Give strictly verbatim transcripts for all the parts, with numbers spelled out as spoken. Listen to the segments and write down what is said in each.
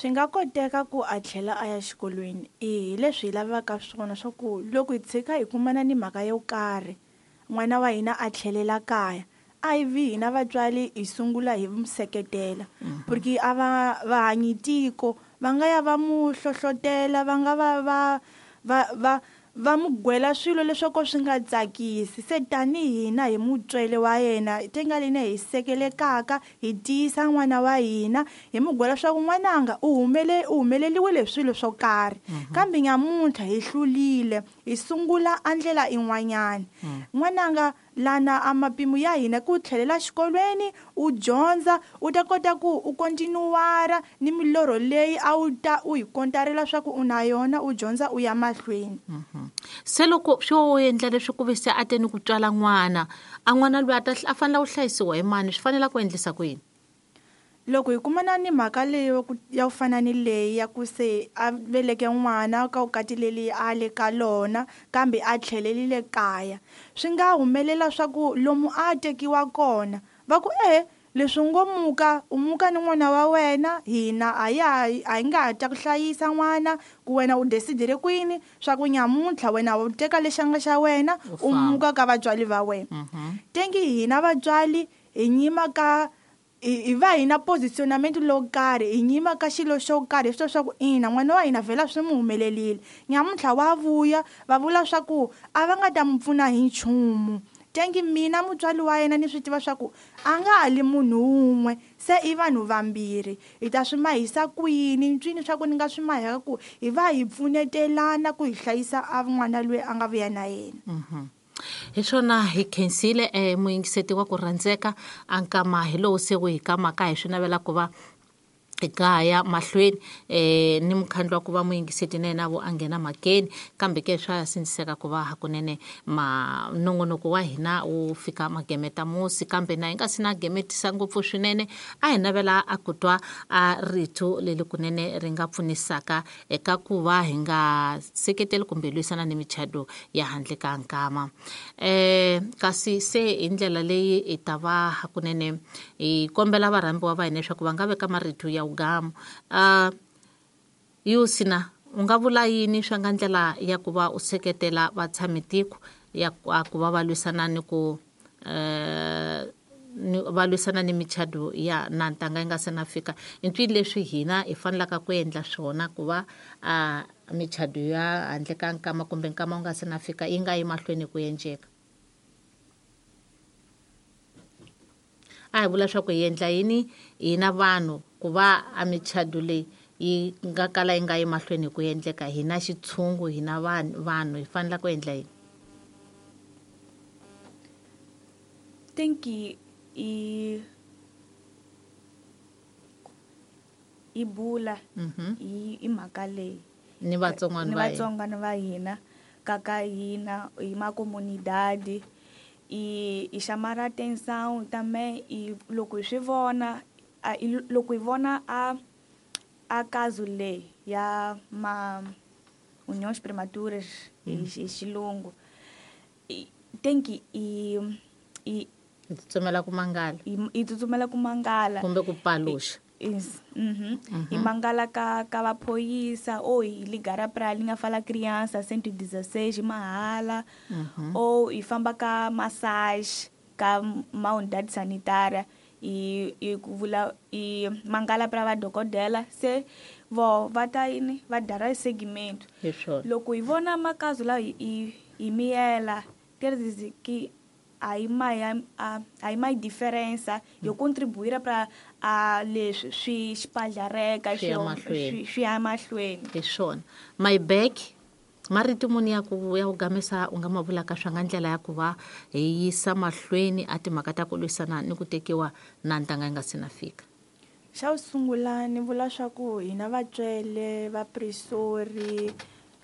Swi nga koteka ku a tlhela a ya xikolweni i hi leswi hi lavaka swona swa ku loko hi tshika hi kumana ni mhaka yo karhi n'wana wa hina a tlhelela kaya a hi vi hina vatswari hi sungula hi mu seketela porque a va va hanyi tiko va nga ya va mu hlohlotela va nga va va va va va mu gwela swilo leswaku swi nga tsakisi se tanihi hina hi mutswele wa yena tingalini hi sekelekaka hi tiyisa n'wana wa hina hi mu gwela swa ku n'wananga u humele u humeleliwile hi swilo swo karhi kambe nyamuntlha hi hlulile hi sungula a ndlela in'wanyana n'wananga lana a mapimo ya hina ku tlhelela xikolweni u dyondza u ta kota ku u kontinuwara ni milorho leyi a wu ta u yi kontarela swa ku u na yona u dyondza u ya mahlweni. Se loko swo endla leswi ku ve se a te ni ku tswala n'wana a n'wana loyi a ta a fanele ku hlayisiwa hi mani swi fanele ku endlisa ku yini? Loko hi kumana ni mhaka leyi ya ku fana ni leyi ya ku se a veleke n'wana ka vukati leli a le ka lona kambe a tlhelelile kaya swi nga humelela swa ku lomu a tekiwa kona va ku e leswi ngo muka u muka ni n'wana wa wena hina a ya a hi nga ha ta ku hlayisa n'wana ku wena u decidile kwini swa ku nyamuntlha wena u teka lexanga xa wena u muka ka vatswari va wena. Tengi hina vatswari hi nyima ka hi va hi na positionamento lowo karhi hi nyima ka xilo xo karhi swo swa ku ina n'wana wa hina vhela swi mu humelelile nyamuntlha wa vuya va vula swa ku a va nga ta mu pfuna hi nchumu tengi mina mutswari wa yena ni swi tiva swa ku a nga ha li munhu wun'we se i vanhu vambirhi hi ta swi mahisa kwini ncwini swa ku ni nga swi maheka ku hi va hi pfunetelana ku hi hlayisa a n'wana loyi a nga vuya na yena. Hi swona hi khensile eh muyingiseti wa ku rhandzeka a nkama hi lowu se wu hi kamaka hi swi navela ku va ekaya mahlweni eh ni mukhandlu wa ku va muyingiseti na yena vo a nghena mhakeni kambe ke swa sindziseka ku va hakunene ma nongonoko wa hina wu fika magemeta musi kambe na hi nga si na gemetisa ngopfu swinene a hi navela a ku twa a rito leli kunene ri nga pfunisaka eka ku va hi nga seketeli kumbe lwisana ni michado ya handle ka nkama eh kasi se hi ndlela leyi hi ta va hakunene hi kombela varhambiwa va hina leswaku va nga veka marito ya gamu uh yusina u nga vula yini swa nga ndlela ya ku va u seketela vatshamitiko ya ku va va lwisana ni ku eh va lwisana ni michado ya na ntanga yi nga se na fika i ntwi leswi hina hi fanelaka ku endla swona ku va a michado ya handle ka nkama kumbe nkama wu nga se na fika yi nga yi mahlweni ku endleka a hi vula swa ku hi endla yini hina vanhu ku va a michado leyi yi nga kala yi nga yi mahlweni ku endleka hina xitshungu hina vanhu vanhu hi fanele ku endla yini? Think i i bula i i mhaka leyi ni vatsongwana ni vatsongwana va hina kaka hina hi ma comunidade i i chamar a atenção também e loko hi swi vona a loko hi vona a a caso leyi ya ma uniões prematuras hi xilungu tem que i i hi tsutsumela ku mangala hi tsutsumela ku mangala kumbe ku paluxa is mhm hi mangala ka ka vaphoyisa ou hi ligar pra linha fala criança cento e dezesseis mahala ou hi famba ka massage ka ma unidade sanitária i i ku vula i mangala pra va dokodela se vo va ta yini va dara segmento loko hi vona makazo la hi hi miyela quer dizer que aí mais aí mais diferença eu contribuir para a leswi swi xipalhareka swi swi ya mahlweni hi swona my back marito muni ya ku ya ku gamisa u nga ma vulaka swa nga ndlela ya ku va hi yisa mahlweni a timhaka ta ku lwisana ni ku tekiwa na ntanga yi nga se na fika? Xa ku sungula ni vula swa ku hina vatswele vapresori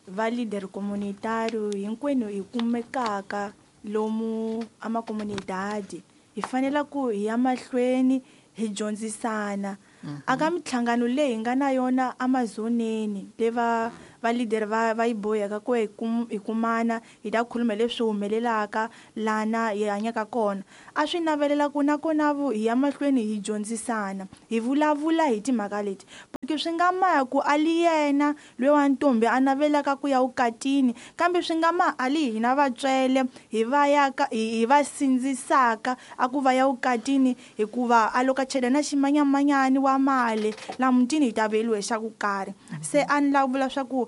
va leader communitario hinkwenu hi kumekaka lomu a makomunidadi hi fanele ku hi ya mahlweni hi dyondzisana aka minhlangano leyi hi nga na yona amazoneni le va va leader va va yi boheka ku hi kum hi kumana hi ta khuluma leswi humelelaka lana hi hanyaka kona. A swi navelela ku na kona vu hi ya mahlweni hi dyondzisana hi vulavula hi timhaka leti, porque swi nga maya ku a li yena loyi wa ntombi a navelaka ku ya vukatini, kambe swi nga ma a li hina vatswele hi va ya ka hi va sindzisaka a ku va ya vukatini hikuva a loko a chela na ximanyamanyani wa mali la mutini hi ta veliwe xa ku karhi. Se a ni lava ku vula swa ku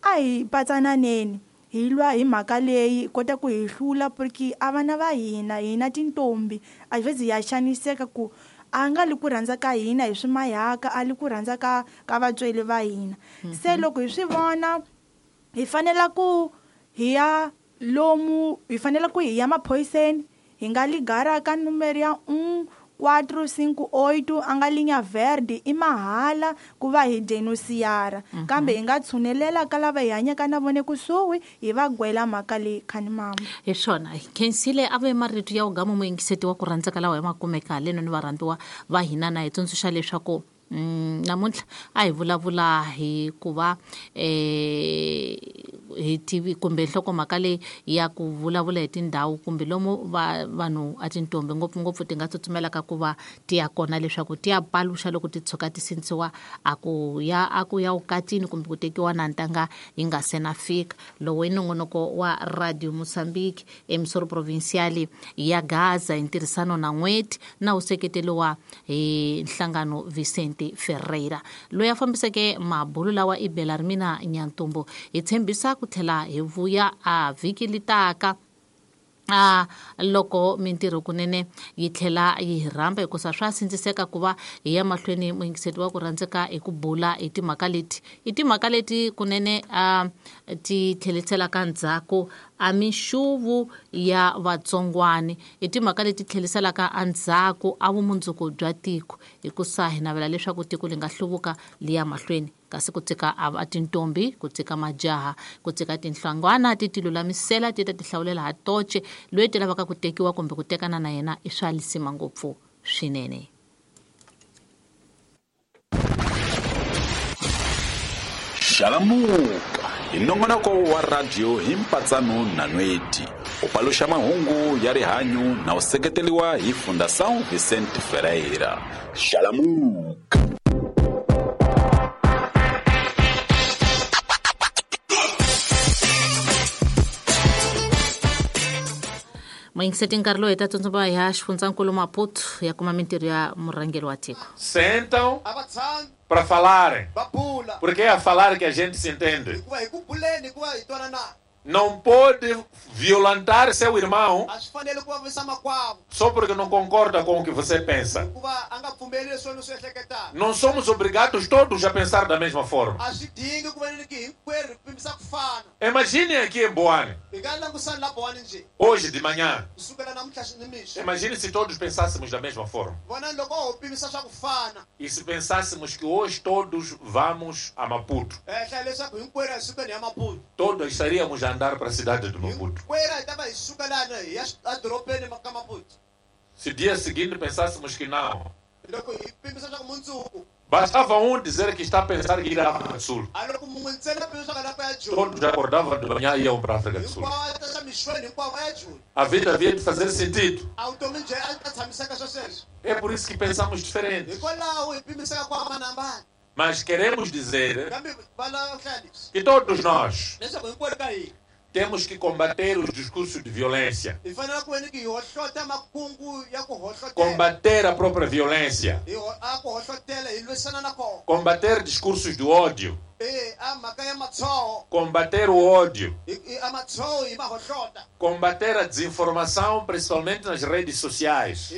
a hi patsananeni hi lwa hi mhaka leyi kota ku hi hlula, porque a vana va hina hina tintombi a hi ya xaniseka ku a nga li ku rhandza ka hina hi swi mayaka a li ku rhandza ka ka vatsweri va hina. Se loko hi swi vona hi fanela ku hi ya lomu hi fanela ku hi ya maphoyiseni, hi nga ligara ka numero ya un quatro cinco oito a nga linha verde i mahala ku va hi denunciara, kambe hi nga tshunelela ka lava hi hanyaka na vona kusuhi hi va gwela mhaka leyi khani mama. Hi swona khensile a ve marito ya ugama muyingiseti wa ku rhandzaka lawa hi ma kumeka haleno ni varhandziwa va hina na hi tsundzuxa leswaku Mm, namuntlha a hi vulavula hi ku va eh hi tivi kumbe nhlokomhaka leyi ya ku vulavula hi tindhawu kumbe lomu va vanhu a tintombi ngopfungopfu ti nga tsutsumelaka ku va ti ya kona leswaku ti ya paluxa loko ti tshuka ti sindzisiwa a ku ya a ku ya vukatini kumbe ku tekiwa na ntanga yi nga se na fika. Lowu i nongonoko wa Radio Mozambique emisoro provincial ya Gaza hi ntirhisano na N'weti na wu seketeriwa hi nhlangano Vicente Ferreira loyi a fambiseke mabulu lawa i Belarmina Nyantumbo. Hi tshembisa ku tlhela hi vuya a vhiki litaka a loko mintirho kunene yi tlhela yi hi rhamba hikusa swa sindziseka ku va hi ya mahlweni muyingiseti wa ku rhandzeka hi ku bula hi timhaka leti i timhaka leti kunene a ti tlheliselaka ndzhaku a minxuvu ya vatsongwani, i timhaka leti tlheliselaka endzhaku a vumundzuku bya tiko hikusa hi navela leswaku tiko li nga hluvuka li ya mahlweni, kasi ku tshika a tintombi ku tshika majaha ku tshika tinhlangwana ti ti lulamisela ti ta ti hlawulela ha toce loyi ti lavaka ku tekiwa kumbe ku tekana na yena i swa lisima ngopfu swinene. Xalamuka hi nongonoko wa radio hi mpatsano na Nweti u paluxa mahungu ya rihanyu na u seketeriwa hi Fundação Vicente Ferreira. Xalamuka. Muyingiseti nkarhi lowu hi ta tsundzuka ya xifundzankulu Maputo ya kuma mintirho ya murhangeri wa tiko. Sentam para falarem, porque é a falar que a gente se entende. Não pode violentar seu irmão só porque não concorda com o que você pensa. Não somos obrigados todos a pensar da mesma forma. Imagine aqui em Boane, hoje de manhã. Imagine se todos pensássemos da mesma forma. E se pensássemos que hoje todos vamos a Maputo, todos estaríamos a andar para a cidade de Maputo. Se dia seguinte pensássemos que não, bastava um dizer que está a pensar em ir à África do Sul. Todos acordavam de manhã e iam para a África do Sul. A vida havia de fazer sentido. É por isso que pensamos diferente. Mas queremos dizer que todos nós temos que combater os discursos de violência, combater a própria violência, combater discursos de ódio, combater o ódio, combater a desinformação, principalmente nas redes sociais,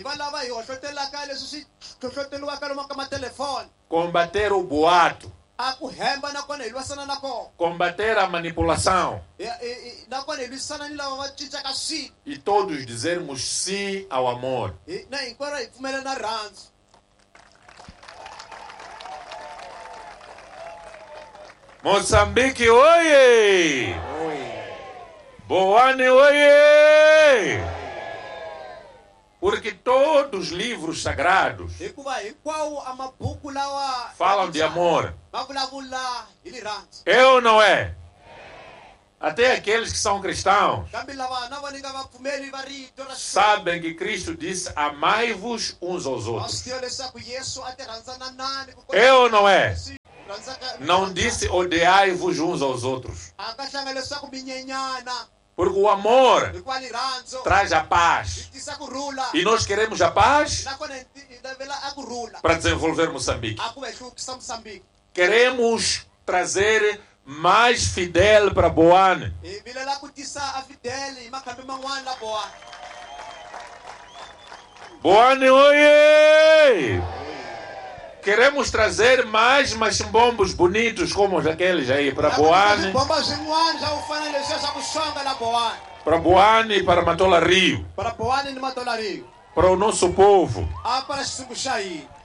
combater o boato, combater a manipulação e todos dizermos sim ao amor. Moçambique, oie! Boane, oie! Porque todos os livros sagrados falam de amor. É ou não é? Até aqueles que são cristãos sabem que Cristo disse: amai-vos uns aos outros. É ou não é? Não disse odiai-vos uns aos outros. Porque o amor traz a paz. E nós queremos a paz para desenvolver Moçambique. Queremos trazer mais Fidel para Boane. Boane, oiê! Queremos trazer mais machimbombos bonitos como aqueles aí para Boane. Para Boane e para Matola Rio. Para o nosso povo.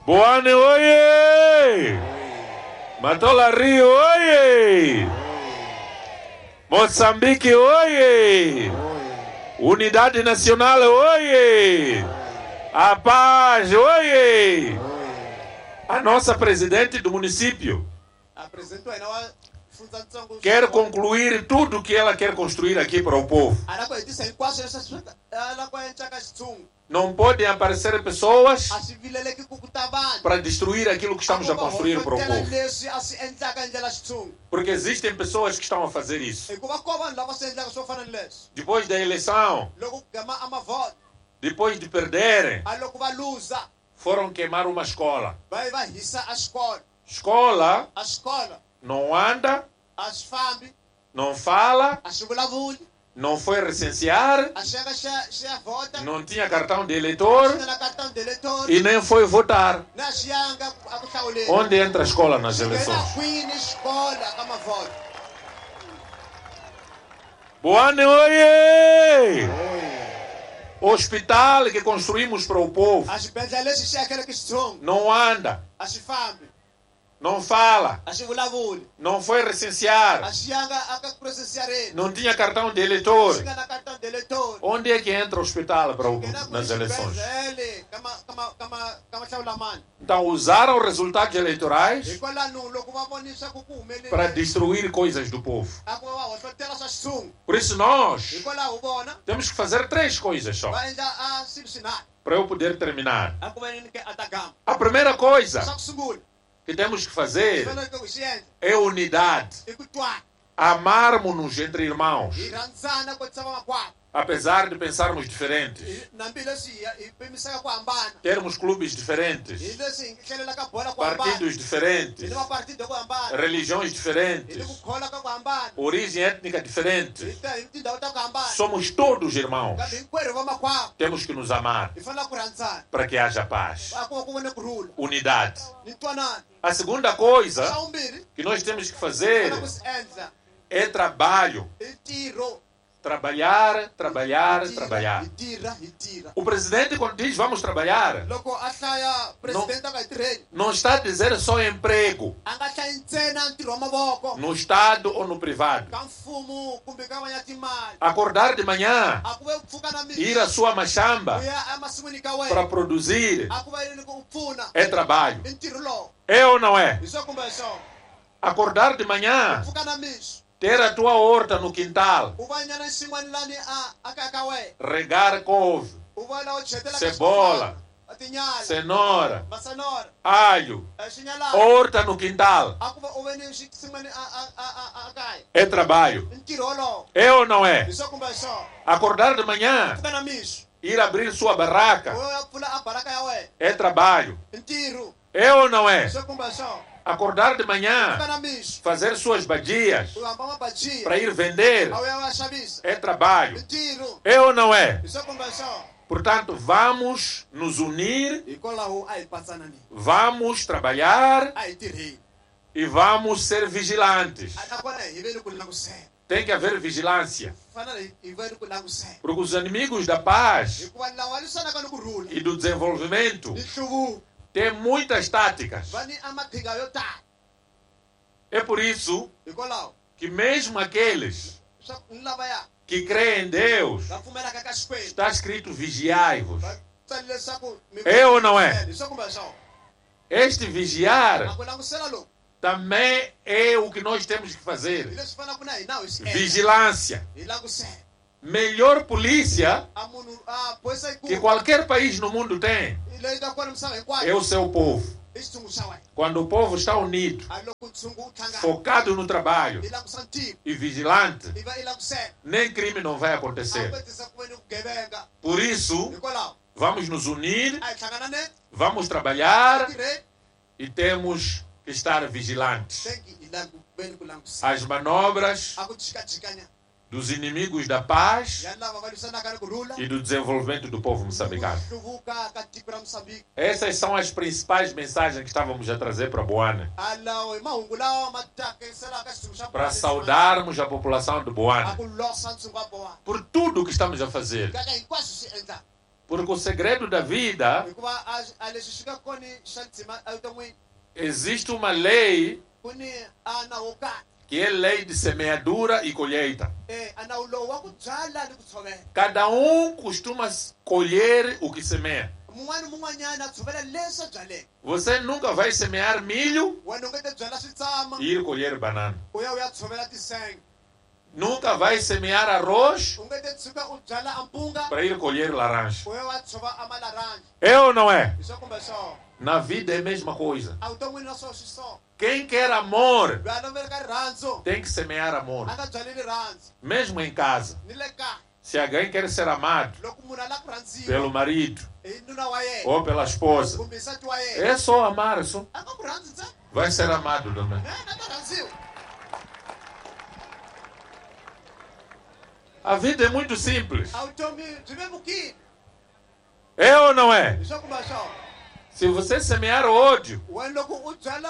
Boane, oiê! Matola Rio, oiê! Moçambique, oiê! Unidade Nacional, oiê! A paz, oiê! A nossa presidente do município quer concluir tudo o que ela quer construir aqui para o povo. Não podem aparecer pessoas para destruir aquilo que estamos a construir para o povo. Porque existem pessoas que estão a fazer isso. Depois da eleição, depois de perderem, foram queimar uma escola. Escola não anda, não fala, não foi recensear, não tinha cartão de eleitor e nem foi votar. Onde entra a escola nas eleições? Boane, oiê! Hospital que construímos para o povo não anda, não fala, não foi recensear, não tinha cartão de eleitor. Onde é que entra o hospital para o, nas eleições? Então usaram resultados eleitorais para destruir coisas do povo. Por isso nós temos que fazer três coisas só, para eu poder terminar. A primeira coisa que temos que fazer é unidade. Amarmos-nos entre irmãos, apesar de pensarmos diferentes, termos clubes diferentes, partidos diferentes, religiões diferentes, origem étnica diferente. Somos todos irmãos. Temos que nos amar para que haja paz, unidade. A segunda coisa que nós temos que fazer é trabalho. Trabalhar, trabalhar, trabalhar. O presidente, quando diz vamos trabalhar, não, não está a dizer só emprego no Estado ou no privado. Acordar de manhã, ir à sua machamba para produzir, é trabalho. É ou não é? Acordar de manhã, ter a tua horta no quintal, regar couve, cebola, cenoura, alho, horta no quintal, é trabalho. É ou não é? Acordar de manhã, ir abrir sua barraca, é trabalho. É ou não é? Acordar de manhã, fazer suas badias para ir vender, é trabalho. É ou não é? Portanto, vamos nos unir, vamos trabalhar e vamos ser vigilantes. Tem que haver vigilância. Porque os inimigos da paz e do desenvolvimento têm muitas táticas. É por isso que mesmo aqueles que creem em Deus, está escrito vigiai-vos. É ou não é? Este vigiar também é o que nós temos que fazer. Vigilância. Melhor polícia que qualquer país no mundo tem é o seu povo. Quando o povo está unido, focado no trabalho e vigilante, nem crime não vai acontecer. Por isso, vamos nos unir, vamos trabalhar e temos que estar vigilantes. As manobras dos inimigos da paz e do desenvolvimento do povo moçambicano. Essas são as principais mensagens que estávamos a trazer para Boane. Para saudarmos a população de Boane por tudo o que estamos a fazer. Porque o segredo da vida, existe uma lei que é lei de semeadura e colheita. Cada um costuma colher o que semeia. Você nunca vai semear milho e ir colher banana. Nunca vai semear arroz para ir colher laranja. É ou não é? Na vida é a mesma coisa. Quem quer amor tem que semear amor. Mesmo em casa. Se alguém quer ser amado pelo marido ou pela esposa, é só amar. Só. Vai ser amado também. A vida é muito simples. É ou não é? Se você semear ódio,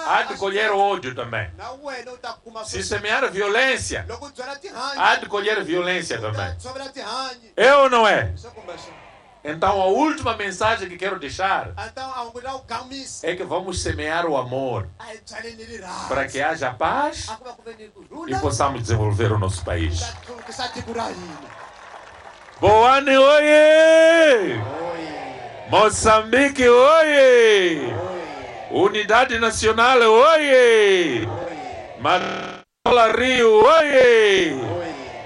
há de colher ódio também. Se semear violência, há de colher violência também. É ou não é? Então a última mensagem que quero deixar é que vamos semear o amor para que haja paz e possamos desenvolver o nosso país. Boane, oiê! Moçambique, oiê! Unidade Nacional, oiê! Matola Rio, oiê!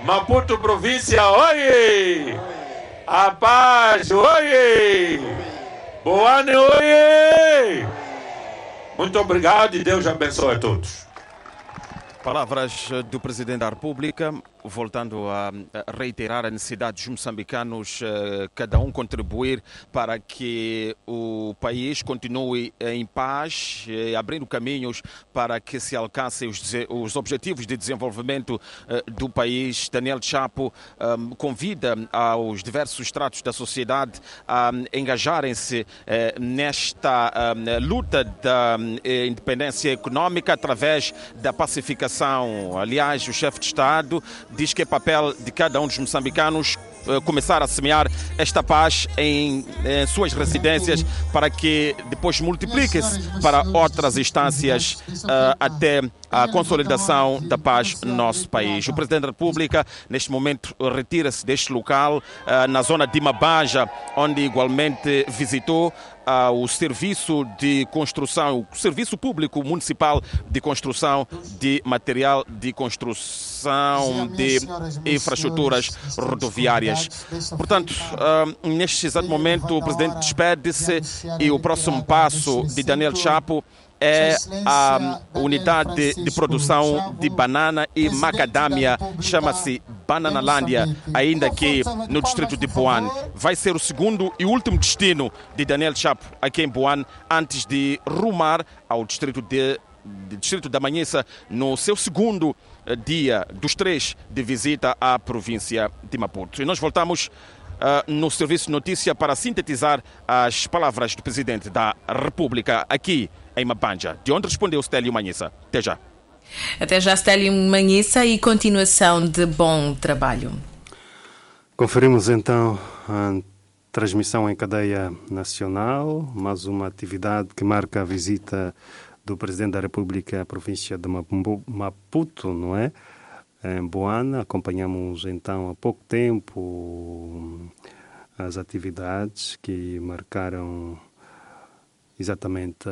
Maputo Província, oiê! A paz, oiê! Boane, oiê! Muito obrigado e Deus abençoe a todos. Palavras do Presidente da República, voltando a reiterar a necessidade dos moçambicanos, cada um contribuir para que o país continue em paz, abrindo caminhos para que se alcancem os, os objetivos de desenvolvimento do país. Daniel Chapo convida aos diversos estratos da sociedade a engajarem-se nesta luta da independência econômica através da pacificação. Aliás, o chefe de Estado diz que é papel de cada um dos moçambicanos começar a semear esta paz em, em suas residências para que depois multiplique-se para outras instâncias uh, até a consolidação da paz no nosso país. O Presidente da República, neste momento, retira-se deste local, uh, na zona de Mabanja, onde igualmente visitou uh, o serviço de construção, o serviço público municipal de construção de material de construção de infraestruturas rodoviárias. Portanto, uh, neste exato momento, o Presidente despede-se e o próximo passo de Daniel Chapo é a unidade de produção de banana e macadâmia, chama-se Bananalândia, ainda aqui no distrito de Boane. Vai ser o segundo e último destino de Daniel Chapo aqui em Boane, antes de rumar ao distrito de, de distrito da Manhissa, no seu segundo dia dos três de visita à província de Maputo. E nós voltamos Uh, no serviço de notícia para sintetizar as palavras do Presidente da República aqui em Mabanja, de onde respondeu Stélio Manhissa. Até já. Até já, Stélio Manhissa, e continuação de bom trabalho. Conferimos então a transmissão em cadeia nacional, mais uma atividade que marca a visita do Presidente da República à província de Maputo, não é? Em Boane. Acompanhamos então há pouco tempo as atividades que marcaram exatamente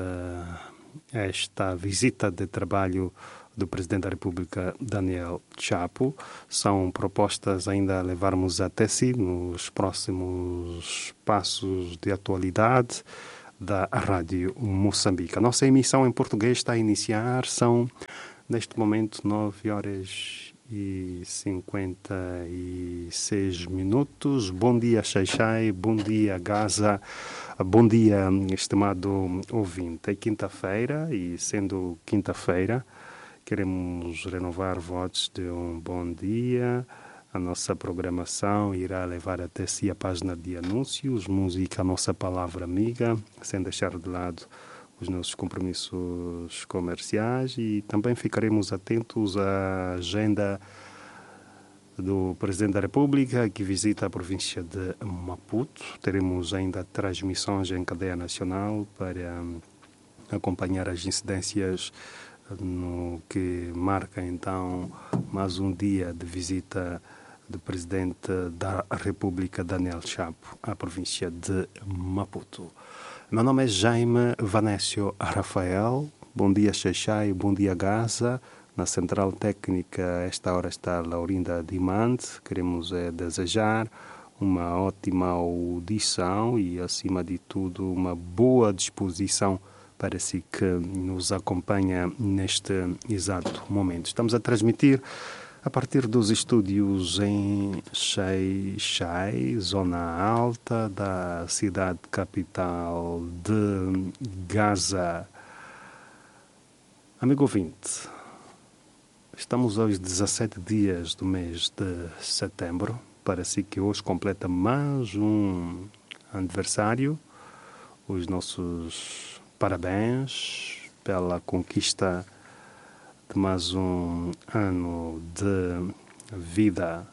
esta visita de trabalho do Presidente da República, Daniel Chapo. São propostas ainda a levarmos até si nos próximos passos de atualidade da Rádio Moçambique. A nossa emissão em português está a iniciar, são neste momento nove horas e cinquenta e seis minutos. Bom dia, Xaixai, bom dia, Gaza, bom dia, estimado ouvinte. É quinta-feira e, sendo quinta-feira, queremos renovar votos de um bom dia. A nossa programação irá levar até si a página de anúncios, música, a nossa palavra amiga, sem deixar de lado os nossos compromissos comerciais, e também ficaremos atentos à agenda do Presidente da República, que visita a província de Maputo. Teremos ainda transmissões em cadeia nacional para acompanhar as incidências no que marca então mais um dia de visita do Presidente da República, Daniel Chapo, à província de Maputo. Meu nome é Jaime Vanécio Rafael. Bom dia, Xaixai. Bom dia, Gaza. Na central técnica, esta hora está Laurinda Dimante. Queremos é, desejar uma ótima audição e, acima de tudo, uma boa disposição para si que nos acompanha neste exato momento. Estamos a transmitir a partir dos estúdios em Xaixai, zona alta da cidade capital de Gaza. Amigo ouvinte, estamos aos dezassete dias do mês de setembro. Parece que hoje completa mais um aniversário. Os nossos parabéns pela conquista de mais um ano de vida.